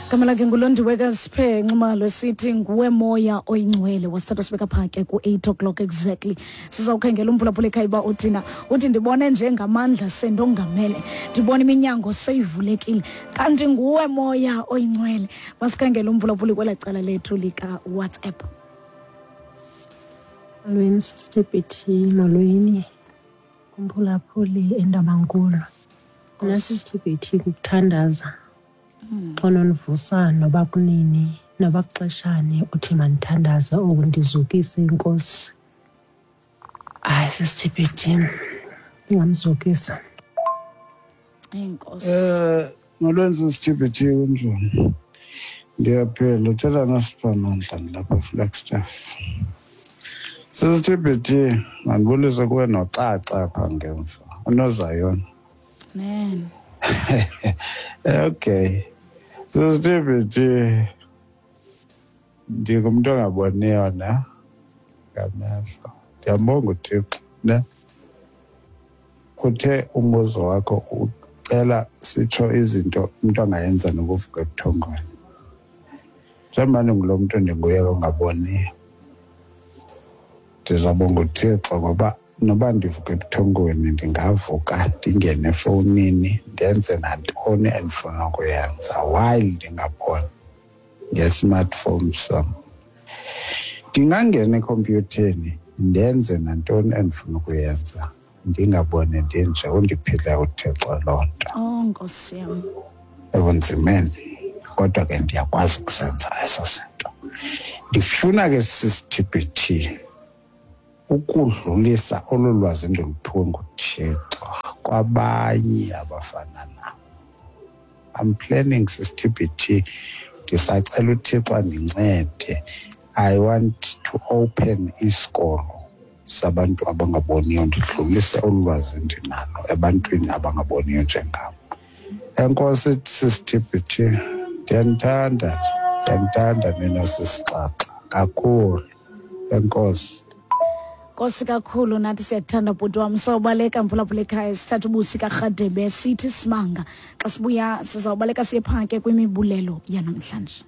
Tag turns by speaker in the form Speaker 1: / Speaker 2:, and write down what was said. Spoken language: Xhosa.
Speaker 1: Gama lakhe nguLondiwe kaSiphe Nxumalo, sithi nguwe moya oyingcwele. Wasithatha sibeka phaa ke ku-8 o'clock exactly. Sizawukhangela umphulaphula ekhaya uba uthina. Uthi ndibone njengamandla sendongamele, ndibona iminyango seyivulekile, kanti nguwe moya oyingcwele. Masikhangele umphulaphuli kwela cala lethu likaWhatsApp.
Speaker 2: Molweni Sister BT, molweni kumphulaphuli eNtabankulu. Mna Sister BT kukuthandaza. Xa unondivusa noba kunini noba kuxeshani uthi mandithandaze oku ndizukise iNkosi. Hayi Sister BT, ndingamzukisa.
Speaker 1: Enkosi.
Speaker 3: Molweni Sister BT, kunjani? Ndiyaphila, uthetha noSiphamandla ndilapha eFlagstaff. Sister BT, mandibulise kuwe noxaxa apha ngemva, uNozayona.
Speaker 1: Man.
Speaker 3: Okay. Sister BT, ndingumntu ongaboniyo ne ngamehlo. Ndiyambonga uThixo ne. Uthe umbuzo wakho ucela sitsho izinto umntu angayenza nokuvuka ebuthongweni. Njengoba ndingulo mntu ndinguye ongaboniyo, ndizawubonga uThixo ngoba noba ndivuka ebuthongweni ndingavuka ndingene efowunini ndenze nantoni endifuna ukuyenza while ndingaboni nge-smartphone sam. Ndingangena ekhompyutheni ndenze nantoni endifuna ukuyenza ndingaboni ndinje. Undiphile uThixo loo nto.
Speaker 1: Oh Nkosi yam.
Speaker 3: Ebunzimeni, kodwa ke ndiyakwazi ukuzenza ezo zinto. Ndifuna ke sisiTBT ukudlulisa olu lwazi ndiluphiwe nguThixo kwabanye abafana nam. I'm planning sisiTBT, ndisacela uThixo andincede. I want to open isikolo sabantu abangaboniyo, ndidlulise olu lwazi ndinalo ebantwini abangaboniyo njengam. Enkosi sisiTBT, ndiyanithanda, ndiyanithanda nina sisixaxa kakhulu. Enkosi.
Speaker 1: Nkosi kakhulu, nathi siyakuthanda bhuti wam. Sawubaleka mphulaphula ekhaya, sithatha ubusi kaRhadebe sithi simanga. Xa sibuya sizawubaleka siye phaa ke kwimibulelo yanamhlanje.